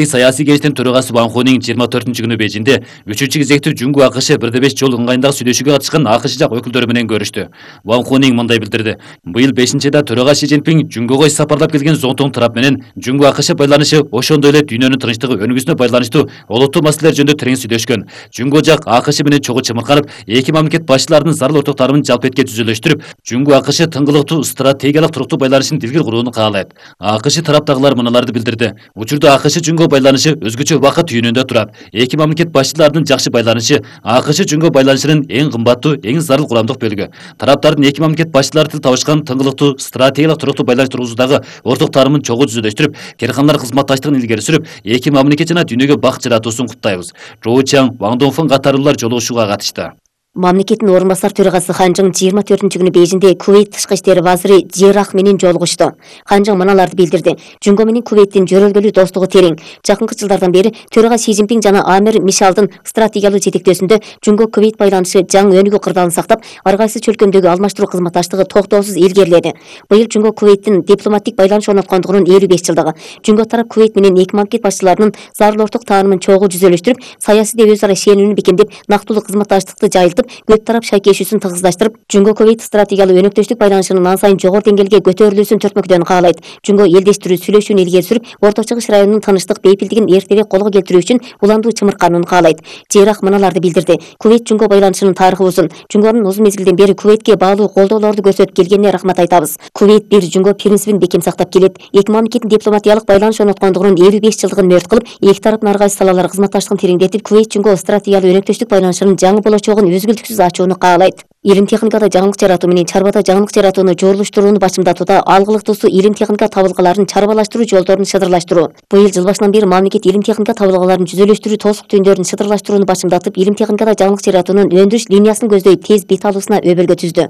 Саясий кеңештин төрагасы Ван Хунинг 24-күнү Бейжиңде 3-чү кезекти Жуңго АКШ 1-5 жол ыңгайындагы сүйлөшүүгө катышкан АКШ жак өкүлдөрү менен көрүштү. Ван Хунинг мындай билдирди: Быйыл 5-да төрага Си Цзиньпин Жуңгого сапарлап келген Зоңтоң тарап менен Жуңго АКШ байланышы ошондой эле дүйнөнүн тынчтыгы өнүгүүсүнө байланыштуу олуттуу маселелер жөнүндө терең сүйлөшкөн. Жуңго жак АКШ менен чогуу чымырканып, эки мамлекет башчыларынын зарыл ортокторун жалпетке түзүлөштүрүп, Жуңго АКШ тыңгылыктуу стратегиялык туруктуу байланышын дилгир курууну каалайт. АКШ тараптагылар мыналарды билдирди: Учурда АКШ Жуңго байланышы өзгөчө убакыт түйүнүндө турат. Эки мамлекет башчыларынын жакшы байланышы АКШ Жуңго байланышынын эң кымбаттуу, эң зарыл курамдык бөлүгү. Тараптардын эки мамлекет башчылары тил табышкан тыңгылыктуу стратегиялык туруктуу байланыш тургузуудагы орток тааримын чогуу түзүлөштүрүп, керкандар кызматташтыгын илгери сүрүп, эки мамлекет жана дүйнөгө бакыт жаратуусун куттайбыз. Жоу Чаң, Ван Донфун катарлуулар жолугушууга катышты. Мамлекеттин орун басар төрагасы Хан Чжың 24-күнү Бейжиңде Кувейт тышкы иштер вазири Жерах менен жолугушту. Хан Чжың мыналарды билдирди: Жуңго менен Кувейттин жөрөлгөлүү достугу терең. Жакынкы жылдардан бери төрага Си Цзиньпин жана Амир Мишалдын стратегиялык жетектөөсүндө Жуңго Кувейт байланышы жаңы өнүгүү кырдаалын сактап, ар кайсы чөлкөмдөгү алмаштыруу кызматташтыгы токтоосуз илгериледи. Быйыл Жуңго Кувейттин дипломаттик байланыш орноткондугунун 55 жылдыгы. Жуңго тарап Кувейт менен эки мамлекет башчыларынын зарыл орток тааримын чогуу жүзөлөштүрүп, саясий өз ара ишенимини бекемдеп, нактылуу кызматташтыкты жайылтып, көп тарап шайкешүүсүн тыгыздаштырып, Жуңго Кувейт стратегиялык өнөктөштүк байланышынын ан сайын жогору деңгээлге көтөрүлүүсүн төртмөкдөн каалайт. Жуңго элдештирүү сүйлөшүүнү илгери сүрүп, Орто Чыгыш районунун тынчтык, бейпилдигин эртерээк колго келтирүү үчүн уландуу чымырканын каалайт. Жерах мыналарды билдирди: Кувейт Жуңго байланышынын тарыхы узун. Жуңгонун узун мезгилден бери Кувейтке баалуу колдоолорду көрсөтүп келгенине рахмат айтабыз. Кувейт бир Жуңго принцибин бекем сактап келет. Эки мамлекеттин дипломатиялык байланыш орноткондугунун 55 жылдыгын мөрт кылып, эки тараптын ар кайсы салалар кызматташтыгын тереңдетип, Кувейт Жуңго стратегиялык өнөктөштүк байланышынын жаңы болочогун үзгүлтүксүз ачууну каалайт. Илим техникада жаңылык жаратуу менен чарбада жаңылык жаратууну жорулуштурууну башымдатууда алгылыктуусу илим техника табылгаларын чарбалаштыруу жолдорун шыдырлаштыруу. Быйыл жыл башынан бери мамлекет илим техника табылгаларын жүзөлөштүрүү тосук түйүндөрүн шыдырлаштырууну башымдатып, илим техникада жаңылык жаратуунун өндүрүш линиясын көздөй тез бет алуусуна өбөлгө түздү.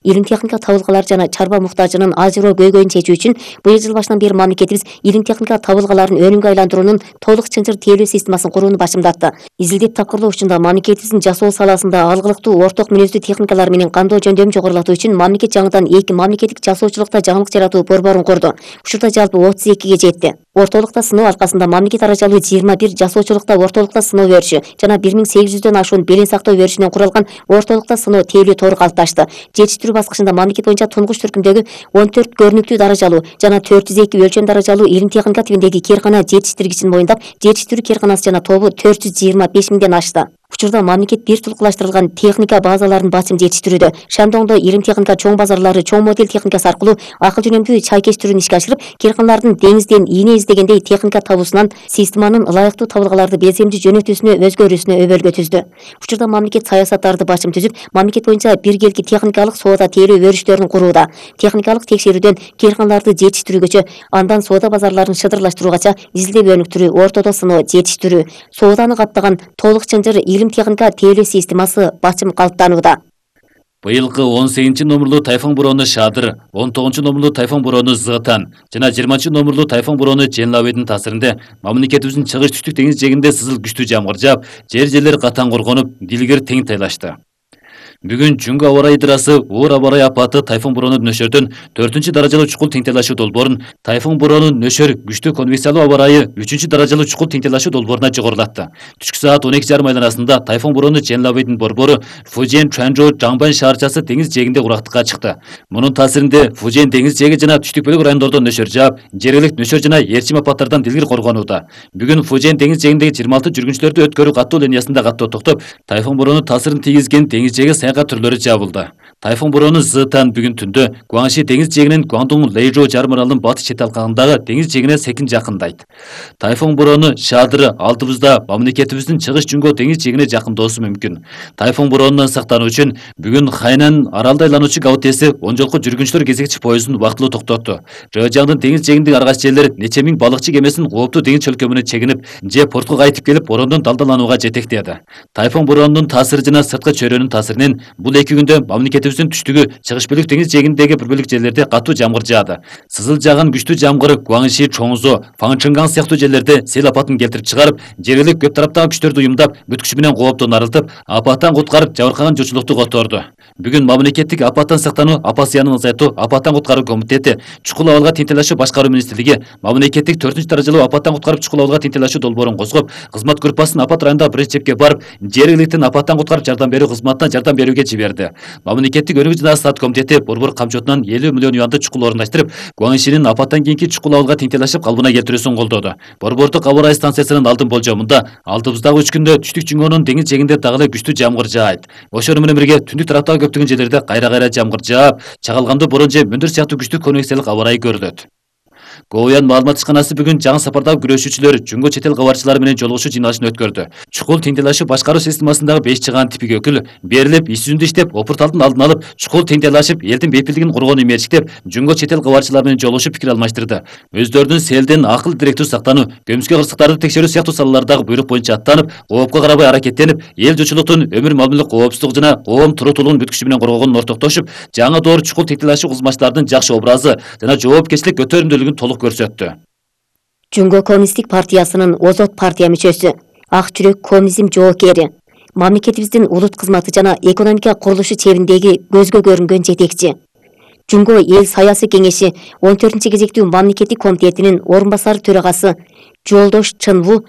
Илим техника табылгалары жана чарба муктажынын ажыроо көйгөйүн чечүү үчүн быйыл жыл башынан бери мамлекетибиз илим техника табылгаларын өнүмгө айландыруунун толук чынжыр тейлөө системасын курууну башымдатты. Изилдеп тапкырлоо учурунда мамлекетибиздин жасоо саласында алгылыктуу орток мүнөздүү техникалар менен кандоо жөндөмүн жогорулатуу үчүн мамлекет жаңыдан эки мамлекеттик жасоочулукта жаңылык жаратуу борборун курду. Учурда жалпы 32ге жетти. Ортолукта сыноо аркасында мамлекет арачалуу 21 жасоочулукта ортолукта сыноо өрүшү жана 1800дөн ашуун белен сактоо өрүшүнөн куралган ортолукта сыноо тейлөө тору калыпташты. Жетиштирүү баскычында мамлекет боюнча тунгуч түркүмдөгү 14 көрүнүктүү даражалуу жана 402 өлчөм даражалуу илим техника тибиндеги керкана жетиштиргичин моюндап, жетиштирүү керканасы жана тобу 425 миңден ашты. Учурда мамлекет бир тулкулаштырылган техника базаларын басым жетиштирүүдө. Шандоңдо илим техника чоң базарлары чоң модель техникасы аркылуу акыл жөнөмдүү чайкеш түрүн ишке ашырып, керканалардын деңизден ийне издегендей техника табуусунан системанын ылайыктуу табылгаларды белсемдүү жөнөтүүсүнө өзгөрүүсүнө өбөлгө түздү. Учурда мамлекет саясаттарды башым түзүп, мамлекет боюнча биргелки техникалык соода тейлөө өрүштөрүн курууда. Техникалык текшерүүдөн керканаларды жетиштирүүгөчө, андан соода базарларын шыдырлаштыруугача изилдеп өнүктүрүү, ортодо сыноо, жетиштирүү, сооданы каптаган толук чынжыр илим техника тейлөө системасы бачым калыптанууда. Быйылкы 18 номерлуу тайфун бороону Шадыр, 19 номерлуу тайфун бороону Зыгытан жана 20 номерлуу тайфун бороону Женлабыдын таасиринде мамлекетибиздин чыгыш түштүк деңиз жээгинде сызыл күчтүү жамгыр жаап, жерлер катаң коргонуп, дилгер тең тайлашты. Бүгүн Жуңго аба ырайы ыдырасы оор аба ырайы апаты тайфун бороону нөшөрдөн 4-даражалуу чукул теңтелашуу долбоорун, тайфун бороону нөшөр күчтүү конвекциялуу аба ырайы 3-даражалуу чукул теңтелашуу долбооруна жогорулатты. Түшкү саат 12:30 айланасында тайфун бороону Женлабыдын борбору Фужен Чуанчжоу Жаңбан шаарчасы деңиз жээгинде урактыкка чыкты. Мунун таасиринде Фужен деңиз жээги жана түштүк бөлүк райондордо нөшөр жаап, жергиликтүү нөшөр жана ээрчим апаттардан дилгир коргонууда. Бүгүн Фужен деңиз жээгиндеги 26 жүргүнчүлөрдү өткөрүү каттоо линиясында каттоо токтоп, тайфун бороону таасирин тийгизген деңиз жээги саякат түрлөрү жабылды. Тайфун бороону Зыгытан бүгүн түндө Гуаңши деңиз жээгинин Гуаңдун Лэйжоу жарым аралынын батыш чет алкагындагы деңиз жээгине секин жакындайт. Тайфун бороону Шадыр алдыбызда мамлекетибиздин чыгыш Жуңго деңиз жээгине жакынdoосу мүмкүн. Тайфун бороонунан сактануу үчүн бүгүн Хайнан аралда айлануучу ГАУТЭСи 10 жолку жүргүнчүлөр кезекчи поездун убактылуу токтотту. Рыжаңдын деңиз жээгиндеги ар кайсы жерлер нече миң балыкчы кемесинин кооптуу деңиз чөлкөмүнө чегинип, же портко кайтып келип бороондон далдаланууга жетектеди. Тайфун бороонунун таасири жана сырткы чөйрөнүн таасиринен бул 2 күндө мамлекетибиздин түштүгү, чыгыш бөлүк деңиз жээгиндеги бир бөлүк жерлерде катуу жамгыр жаады. Сызыл жааган күчтүү жамгыр Гуаңши, Чоңзо, Фаңчынган сыяктуу жерлерде сел апатын келтирип чыгарып, жергиликтүү көп тараптагы күчтөрдү уюмдап, бүт күчү менен кооптон арылтып, апаттан куткарып, жабыркаган журтчулукту которду. Бүгүн мамлекеттик апаттан сактануу, апат зыянын азайтуу, апаттан куткаруу комитети, чукул абалга тентелешүү башкаруу министрлиги, мамлекеттик 4-даражалуу апаттан куткарып чукул абалга тентелешүү долбоорун козгоп, кызмат группасын апат районундагы биринчи чепке барып, жергиликтин апаттан куткарып жардам берүү кызматына жардам берүүгө жиберди. Мамлекеттик өнүгүү жана стат комитети борбор камчотунан 50 миллион юанды чукул орундаштырып, Гуаңшинин апаттан кийинки чукул абалга тентелешип калыбына келтирүүсүн колдоду. Борбордук аба ырайы станциясынын алдын болжомунда алдыбыздагы 3 күндө түштүк Жуңгонун деңиз жээгинде дагы эле күчтүү жамгыр жаайт. Ошону менен бирге түндүк тараптагы көптөгөн жерлерде кайра жамгыр жаап, чагылгандуу борон же мөндүр сыяктуу күчтүү конвекциялык аба ырайы көрүлөт. Говуян маалымат ишканасы бүгүн жаңы сапардагы күрөшүүчүлөр Жуңго чет эл кабарчылары менен жолугушуу жыйналышын өткөрдү. Чукул тентелешүү башкаруу системасындагы 5 чыгаан типик өкүл берилип, иш жүзүндө иштеп, опурталдын алдын алып, чукул тентелешип, элдин бейпилдигин коргоону мерчиктеп, Жуңго чет эл кабарчылары менен жолугушуп пикир алмаштырды. Өздөрүнүн селден акыл директүү сактануу, көмүскө кырсыктарды текшерүү сыяктуу салалардагы буйрук боюнча аттанып, коопко карабай аракеттенип, эл журтчулуктун өмүр мамилелик коопсуздугу жана коом туруктуулугун бүт күчү менен коргогонун ортоктошуп, жаңы доор чукул тентелешүү кызматчылардын жакшы образы жана жоопкерчилик көтөрүмдүүлүгүн толук көрсөттү. Жуңго коммунисттик партиясынын озот партия мүчөсү, ак жүрөк коммунизм жоокери, мамлекетибиздин улут кызматы жана экономика курулушу чебиндеги көзгө көрүнгөн жетекчи. Жуңго эл саясий кеңеши 14-кезектүү мамлекеттик комитетинин орун басары төрагасы Жолдош Чынву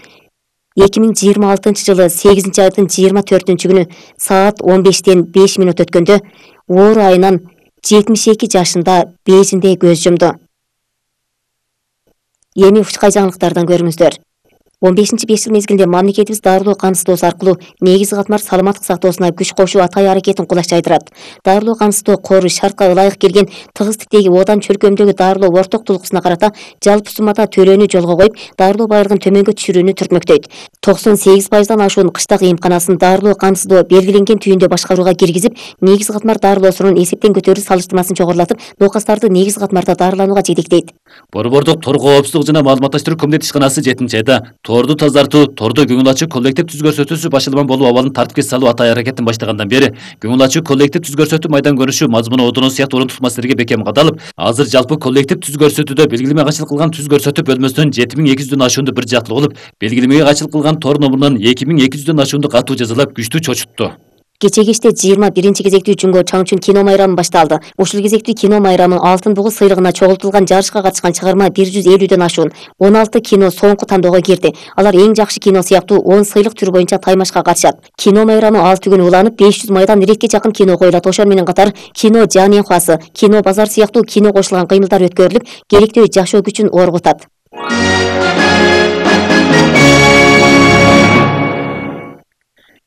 2026-жылы 8-айдын 24-күнү саат 15-тен 5 минут өткөндө оору айынан 72 жашында Бейжиңде көз жумду. Эми ушкай жаңылыктардан көрүңүздөр. 15-5 жыл мезгилинде мамлекетибиз дарылоо камсыздоосу аркылуу негизги катмар саламаттык сактоосуна күч кошуу атай аракетин кулаш жайдырат. Дарылоо камсыздоо кору шартка ылайык келген тыгыз типтеги одан чөлкөмдөгү дарылоо орток тулкусуна карата жалпы суммада төлөөнү жолго коюп, дарылоо байлыгын төмөнгө түшүрүүнү түртмөктөйт. 98%дан ашуун кыштак эмканасын дарылоо камсыздоо белгиленген түйүндө башкарууга киргизип, негизги катмар дарылоосунун эсептен көтөрүү салыштырмасын чогорулатып, оокастарды негизги катмарда дарыланууга жетектейт. Борбордук тор коопсуздук жана маалыматташтыруу комитети ишканасы 7-айда торду тазартуу, тордо көңүл ачуу коллектив түз көрсөтүүсү башылман болуу абалын тартипке салуу атай аракетин баштагандан бери көңүл ачуу коллектив түз көрсөтүү майдан көрүнүшү мазмуну одону сыяктуу орунтук маселелерге бекем кадалып, азыр жалпы коллектив түз көрсөтүүдө белгилеме кайчылык кылган түз көрсөтүү бөлмөсүнөн 7200дөн ашуунду бир жактылуу болуп, белгилемеге кайчылык кылган тор номурунан 2200дөн ашуунду катуу жазалап күчтүү чочутту. Кече кечте 21-кезектүү Жуңго Чаңчун кино майрамы башталды. Ушул кезектүү кино майрамы Алтын бугу сыйлыгына чогултулган жарышка катышкан чыгарма 150дөн ашуун 16 кино соңку тандоого кирди. Алар эң жакшы кино сыяктуу 10 сыйлык түрү боюнча таймашка катышат. Кино майрамы 6 күн уланып, 500 майдан иретке жакын кино коюлат. Ошол менен катар кино Жаненхуасы, кино базар сыяктуу кино кошулган кыймылдар өткөрүлүп, керектүү жашоо күчүн оргутат.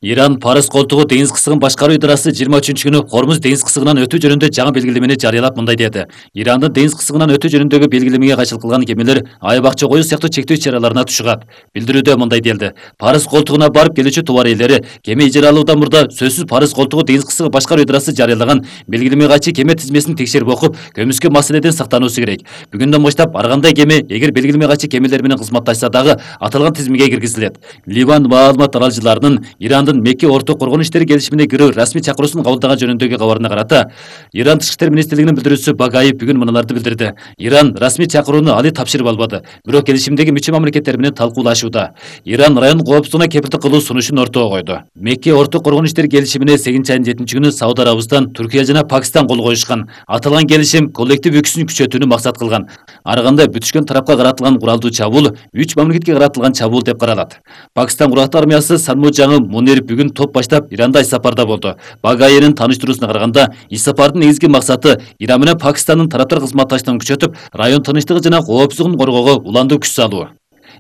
Иран Парыз колтугу деңиз кысыгын башкаруу идарасы 23-күнү Хормуз деңиз кысыгынан өтүү жөнүндө жаңы белгилемени жарыялап мындай деди. Ирандын деңиз кысыгынан өтүү жөнүндөгү белгилемеге кайчылык кылган кемелер айбакча коюу сыяктуу чектөө иш-чараларына тушугат. Билдирүүдө мындай делди. Парыз колтугуна барып келүүчү товар ээлери кеме ижара алуудан мурда сөзсүз Парыз колтугу деңиз кысыгы башкаруу идарасы жарыялаган белгилемеге кайчы кеме тизмесин текшерип окуп, көмүскө маселеден сактануусу керек. Бүгүндөн баштап ар кандай кеме эгер белгилемеге кайчы кемелер менен кызматташса дагы аталган тизмеге киргизилет. Ливан маалымат аралчыларынын Ирандын Мекке орток коргонуу иштери келишимине кирүү расмий чакыруусун кабылдаган жөнүндөгү кабарына карата Иран Тышкы иштер министрлигинин билдирүүчүсү Багаев бүгүн мыналарды билдирди. Иран расмий чакырууну али тапшырып албады, бирок келишимдеги мүчө мамлекеттер менен талкуулашууда. Иран район коопсуздугуна кепилдик кылуу сунушун ортого койду. Мекке орток коргонуу иштери келишимине 8-айдын 7-күнү Сауд Арабистан, Түркия жана Пакистан кол коюшкан. Аталган келишим коллектив үкүсүн күчөтүүнү максат кылган. Ар кандай бүтүшкөн тарапка каратылган куралдуу чабуул 3 мамлекетке каратылган чабуул деп каралат. Пакистан курактуу армиясы Санмужаңы Мунир бүгүн топ баштап Иранда иш сапарда болду. Багаевдин тааныштыруусуна караганда, иш сапардын негизги максаты Иран менен Пакистандын тараптар кызматташтыгын күчөтүп, район тынчтыгы жана коопсуздугун коргоого уландуу күч салуу.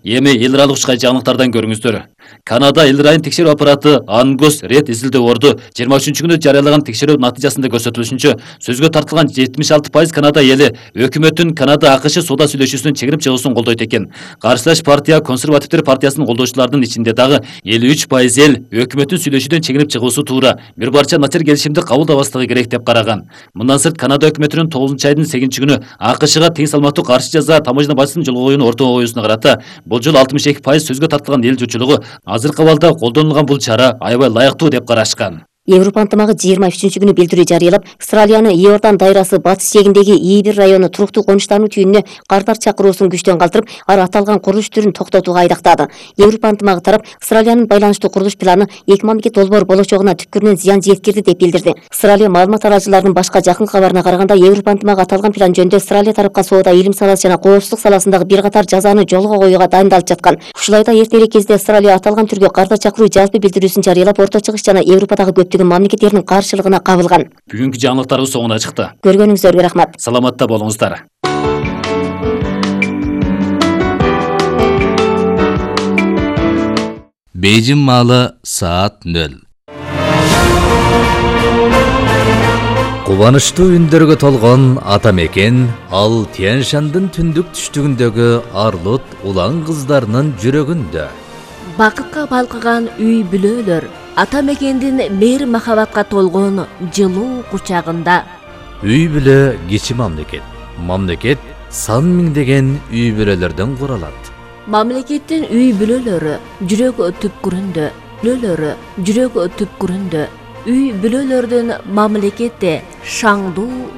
Эми эл аралык ушкай жаңылыктардан көрүңүздөр. Канада эл райын текшерүү аппараты Ангус Ред изилдөө орду 23-күнү жарыялаган текшерүү натыйжасында көрсөтүлүшүнчө сөзгө тартылган 76% Канада эли өкмөттүн Канада АКШ соода сүйлөшүүсүнүн чегинип чыгуусун колдойт экен. Каршылаш партия консервативдер партиясынын колдоочуларынын ичинде дагы 53% эл өкмөттүн сүйлөшүүдөн чегинип чыгуусу туура, бир барча начар келишимди кабылдабастыгы керек деп караган. Мындан сырт Канада өкмөтүнүн 9-айдын 8-күнү АКШга тең салмактуу каршы жаза таможня бажасын жолго коюуну ортого коюусуна карата бул жолу 62% сөзгө тартылган эл журтчулугу азыркы абалда колдонулган бул чара аябай ылайыктуу деп карашкан. Европа ынтымагы 23-күнү билдирүү жарыялап, Австралияны Иордан дайрасы батыш жээгиндеги Ийбир району туруктуу конуштануу түйүнүнө кардар чакыруусун күчтөн калтырып, ар аталган курулуш түрүн токтотууга айдактады. Европа ынтымагы тарап Австралиянын байланыштуу курулуш планы эки мамлекет долбоор болочогуна түпкүрүнөн зыян жеткирди деп билдирди. Австралия маалымат арачыларынын башка жакын кабарына караганда, Европа ынтымагы аталган план жөнүндө Австралия тарапка соода, илим саласы жана коопсуздук саласындагы бир катар жазаны жолго коюуга дайындалып жаткан. Ушул айда эртерээк кезде Австралия аталган түргө кардар чакыруу жалпы билдирүүсүн жарыялап, Орто Чыгыш жана Европадагы көптөгөн мамлекеттердин каршылыгына кабылган. Бүгүнкү жаңылыктарыбыз соңуна чыкты. Көргөнүңүздарга рахмат. Саламатта болуңуздар. Бейжин маалы саат 0. Кубанычтуу үндөргө толгон ата мекен ал Тянь-Шандын түндүк түштүгүндөгү Арлут улан кыздарынын жүрөгүндө. Бакытка балкыган үй бүлөлөр ата мекендин мейир махабатка толгон жылуу кучагында. Үй бүлө кичи мамлекет. Мамлекет сан миңдеген үй бүлөлөрдөн куралат. Мамлекеттин үй бүлөлөрү жүрөк түпкүрүндө, үй бүлөлөрдүн мамлекетте шаңдуу